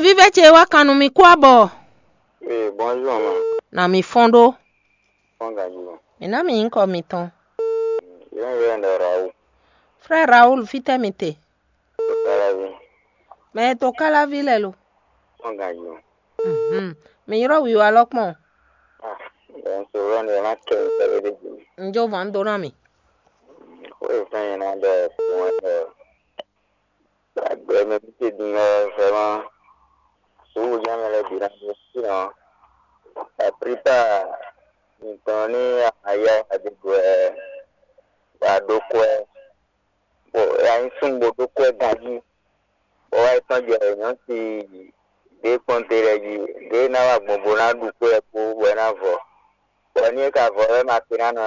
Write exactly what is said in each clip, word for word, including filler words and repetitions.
Vívɛ ce wá kan nú mi kú abɔ. Ee, bonjour, ma. Na mi fɔ́n ɖó. Fɔ́n ganjí, ma. Mi ná mi nyǐkɔ mitɔn. Yɛn yɛn ɖɔ Raoul. Frère Raoul, fítɛ́ mi te? Káláví. Mɛ e to Káláví lɛ lo. Fɔ́n ganjí, ma. Mhm. Mi ylɔ́ wiwa lɔ kpɔn. Ah, bɛn so lɔ ne ma kɛ mi tɛlɛ de ji. N jó vǎn dó ná mi. Xó e fɛn yẹn ná ɖɔ fún ɛ ɖɔ. Agbe mɛ mi te din ɔ́, vraiment, suúlu jɛ́n mɛ lɛ́ɛ bǐ ná ɖó fínɛ́ ɔ́. La plupart mitɔn ní a ma yá adegbe wɛ, bɔ a ɖó kwɛ́, bɔ a nyí súnnu bó ɖó kwɛ́ ganjí, bɔ wá yi tɔ́n jɛ nyɔ̌si ɖě kpɔ́n te lɛ́ɛ jí, ɖě ná wá gbɔn bó ná ɖu kwɛ́ kpó bɔ é ná vɔ, bɔ ní é ka vɔ wɛ ma te ná nɔ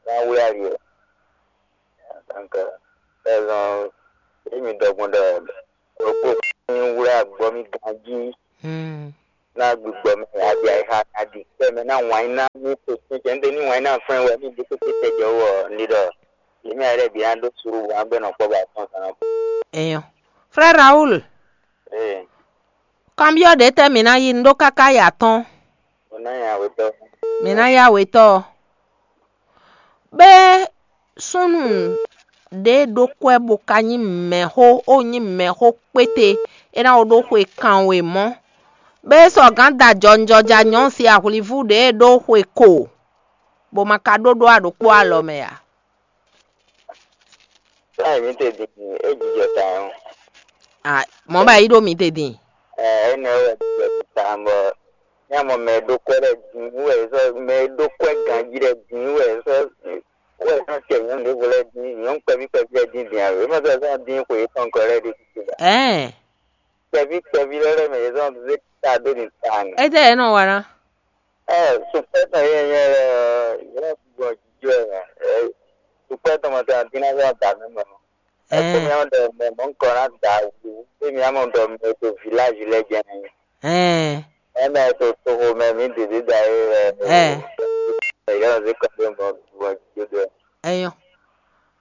ná wlí ali ɔ́. Donc, raison, emi ɖɔ gbɔn ɖɔ ɖokpó ní wlá agbɔ mì ganjí. Hmm. Ná gbigbɔ mɛ adi ayixa adi kpɛ mɛ ná wǎn ná ní kpekpe jɛ ŋɖe ní wǎn ná fɛn wɛ ní ɖi kpekpe tɛ jɛ wɔ ní ɖɔ yémi ayɛ lɛ́ɛ bǐ ná ɖó suɖu wǎn bɛ nɔ kpɔ ba tɔn kan. Enyɔ. Frère Raoul, ee, kanbyɔ́ ɖě tɛ́ mǐ ná yí un ɖó káká ya tɔn. O ná nya wetɔ. Mǐ ná yá wetɔ ɔ́. Bɛ́ súnnu ɖě ɖó kwɛ́ bó ka nyí mɛ̌xó, ó nyí mɛ̌xó kpéte, é ná ko ɖó xwe kanwe mɔ̌. Bɛ́ sɔgǎn da jɔnjɔja nyɔ̌si ahwlivú ɖě ɖó xwe ko, bó ma ka ɖó ɖó aɖokpó alɔ mɛ ǎ. Sáyẹn mi te din, é jijɔ ta ɔ́. Ah, mɔ̌ ba yí ɖó mi te din. Ɛ, énɛ́ wɛ jijɔ ta bɔ ní a mɔ mɛ e ɖó kwɛ́ lɛ́ɛ din wɛ sɔ́ mɛ e ɖó kwɛ́ ganjí lɛ́ɛ din wɛ sɔ́ wɛ sɔ́ kɛ nyɔ̌nu ɖěvo lɛ́ɛ din, nyɔ̌nu kpɛví kpɛví lɛ́ɛ din din ǎ. É ma sɔ́ sɔ́ dín xwe yětɔn gɔ́ lɛ́ɛ ɖé títí ba. Ɛ̌ɛn. Kpɛví kpɛví lɛ́ɛ lɛ́ɛ mɛ yě sɔ́ zé ta dó din ta nɛ. Étɛ́ yě nɔ wa ná? Ɛ, sukpɛ́ tɔn yé nyɛ lɛ ɔ́, yě nɔ gbɔ jijɔ ɛ mɛ. Ɛ, sukpɛ́ tɔn mɔ tɔn dín ná zɔ́n da mɛ mɛ. Ɛ, tó mi ɔ́ ɖɔ mɛ mɔ̌ un kɔ ná da wǔ, tó mi ɔ́ mɔ ɖɔ mɛ to village lɛ́ɛ jɛ nɛ. Ɛɛ. Mɛ mɛ to toxo mɛ mǐ ɖě ɖě da é lɛ. Ɛ. Ɛ, yě nɔ zé kɔ dó mɔ gbɔ jijɔ dó. Ɛyɔ.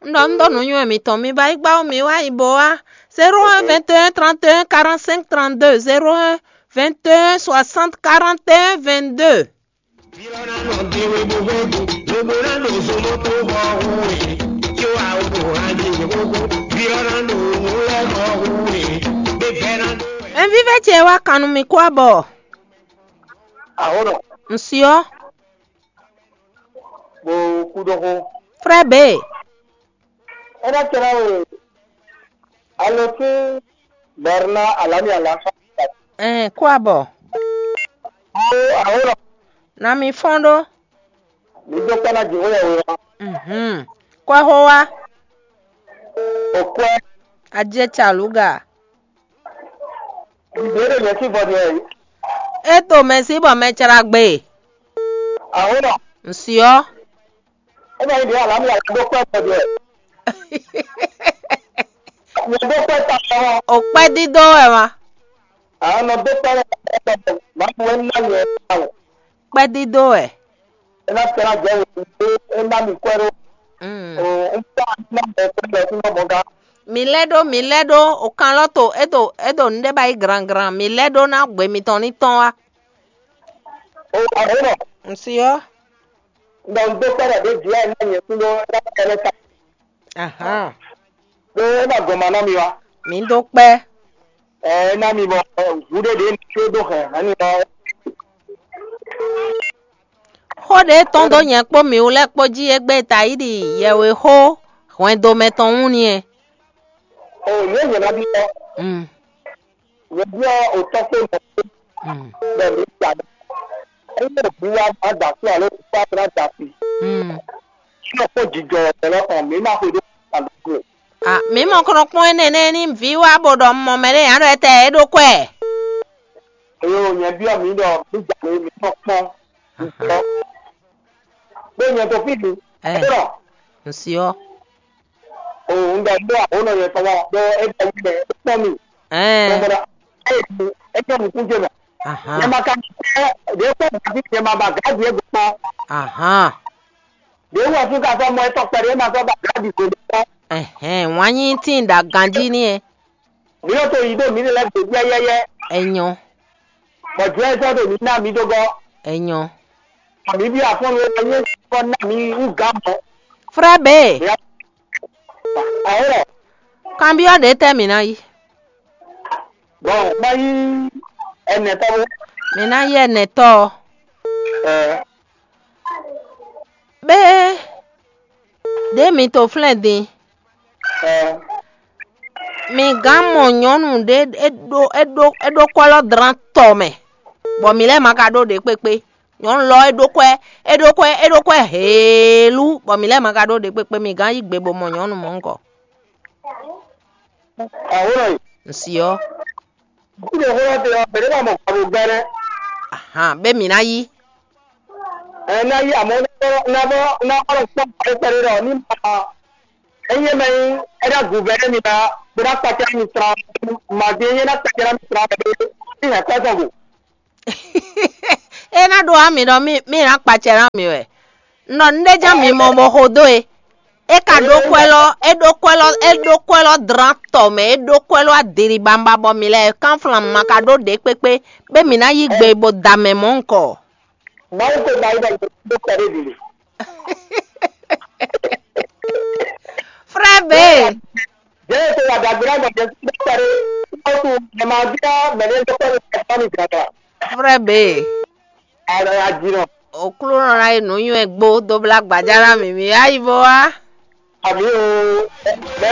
Un ɖɔ un ɖɔ nǔnywɛ́ mitɔn, mi ba yi gbá wú mi wá yi bo wá. Zéro un vingt et un trente et un quarante-cinq trente-deux, zéro un vingt et un soixante quarante et un vingt-deux. Ɛn vívɛ́ ce wá kan nú mi kú abɔ. Ahónɔ. Un syɔ. Bó kú ɖó xó. Frère B. É ná tɛ́ ná we alo sín bɛrná alámì alǎfa. Ɛn kú abɔ. Ó ahónɔ. Na mi fɔ́n ɖó. Mi dó kpɛ́ ná jǐxó yɛ we wá. Mhm. Kɔ́xó wá. Òkwɛ́. Ajé calúga. Ìbéèrè yẹn sí bɔ ni ẹ yìí. É to mɛ sí bɔ mɛ cara gbe. Ahónɔ. Ǹsyɔ́. É ma nyí ɖě alámì alá dó kpɛ́ bɔ ni ẹ. Nyɛ dó kpɛ́ ta ɔ́. O kpɛ́ dídó wɛ ma. Ahónɔ dó kpɛ́ lɛ ta ɔ́, má bu é ná nyɛ ta o. Kpɛ́ dídó wɛ. É ná tɛ́ ná jɛ wěwé é ná mi kwɛ́ ɖó. Mm. O, un kpá ná mɔ kwɛ́ lɛ fún ná mɔ gá. Mi lɛ́ ɖó, mi lɛ́ ɖó, o kan lɔ to, é ɖo, é ɖo nǔɖé ba yi granngran, mi lɛ́ ɖó ná gbě mitɔn ní tɔ́n wá. O, ahónɔ. Ǹsyɔ́. Ɖɔ un dó kpɛ́ ɖɔ ɖě vǐ ɛ ná nyɛ kún ɖó é ná kɛ lɛ́ ta. Ahán. Ɖó é ná gɔn ma ná mi wá. Mi dó kpɛ́. Ɛ é ná mi bɔ hǔɖéɖé ní có ɖó hɛ̌nhɛ́nnu ɔ́. Xó ɖě tɔn dó nyɛ kpó mǐ wú lɛ́ɛ kpó jí égbé Tayíɖi yɛwexó hwɛndo mɛtɔn wú ni ɛ. O yě yě ná bí ɔ́. Mm. Yě byɔ́ òtɔ́ kpó nɔ kpó. Mm. Bɔ mǐ ja ɖɔ. Ényí òbí wa má da kú alo òbí wa má da kú. Mm. Sínú kpó jijɔ ɔ̀tɛ́ lɔ kàn mǐ má xwe ɖó àlùkò. Ah, mǐ mɔ kɔnɔ kpɔ́n énɛ́ nɛ́ ní vǐ wá bó ɖɔ un mɔ mɛ ɖé ǎ ɖɔ étɛ́ é ɖó kwɛ́. Eye o nyɛ byɔ́ mǐ ɖɔ mǐ ja lě mǐ tɔn kpɔ́n. Jijɔ. Ɖó nyɛ to fí mi. Ɛ. Ɖɔ. Ǹsyɔ́. O un ɖɔ ɖó àbónɔ yɛ tɔn wá ɖó é bɛ yi mɛ é kpɔ́n mi. Ɛɛ. Tɔn bɔra é yi é nyɔ nukún jɛ mɛ. Ahan. Nyɛ ma ka ní kpɛ́ ɖě kpɔ́n gǎví nyɛ ma ba gǎví é gbɔn. Ahan. Ɖě wɔ fún ka sɔ́ mɔ étɔn kpɛɖé é ma sɔ́ ba gǎví gbé kpɔ́n. Ɛhɛn, wǎn nyí tíin ɖo aganjí ní ɛ. Mǐ nɔ to yi ɖó mǐ lɛ́ gbě yɛ́yɛ́yɛ́. Enyo. Bɔ jɛ sɔ ɖo mi ná mi dó gɔ. Enyo. Ami bi afɔn lo ye kɔ ná mi u ga mɔ. Frère B. Awo. Kanbiɔ ɖe tɛ mi na yi. Bon, ma yi ɛnɛ tɔ bo. Mi na yi ɛnɛ tɔ. Ɛ. Be. Ɖe mi to flɛn din. Ɛ. Mi gán mɔ nyɔnu ɖe, e ɖo e ɖo e ɖo kwɛ́ lɔ dran tɔ mɛ, bɔ mi lɛ́ ma ka ɖó ɖě kpékpé. Nyɔnu lɔ e ɖó kwɛ́, e ɖó kwɛ́, e ɖó kwɛ́ heelú, bɔ mi lɛ́ ma ka ɖó ɖě kpékpé. Mi gán yí gbe bo mɔ nyɔnu mɔ̌ ŋgɔ. Awo nɔ yi. Nsi ɔ. Kúɖe xó lɔ te ɔ, bɛ̌ ɖé ma mɔ kpabo gbɛ́ nɛ́. Ahan, bɛ mi ná yí. Ɛ ná yí, àmọ́ ná bọ́ ná bọ́ ná bọ́ lɔ kpɔ́n kpɛɖé ɖɔ ní ma. Ényí mɛ nyí é ná gǔvɛ́ mi ná bó ná kpacá mi srán, màdí ényí é ná kpacá mi srán bɛ́ ní hɛn kpɛ́ sɔn go. É ná ɖó ami ɖɔ mí mí ná kpacɛ ná mi wɛ. Un ɖɔ nǔɖé jɛ́n mi mɔ bɔ xo dó e. É ka ɖó kwɛ́ lɔ, é ɖó kwɛ́ lɔ, é ɖó kwɛ́ lɔ dlán tɔ mɛ, é ɖó kwɛ́ lɔ adiri bamba bɔ mi lɛ kánflan ma ka ɖó ɖě kpékpé, bɛ mi ná yí gbe bo da mɛ mɔ̌ ŋkɔ. Mawu ko ba yi bɔ ɖo kpɛɖé ɖi. Frère B. Jẹ́ ètò àdàgbé náà gbọ̀dọ̀ sí dókítà rẹ̀. Ó tún ẹ̀ máa bí mẹ̀lẹ́ dókítà rẹ̀ ẹ̀ fọ́ mi gbàgbà. Frère B. Ààrẹ àjìnà. Òkúlù rán ayé nù yún ẹ gbó dó blá gbàjára mi mi ayi bó wá. Àbí o.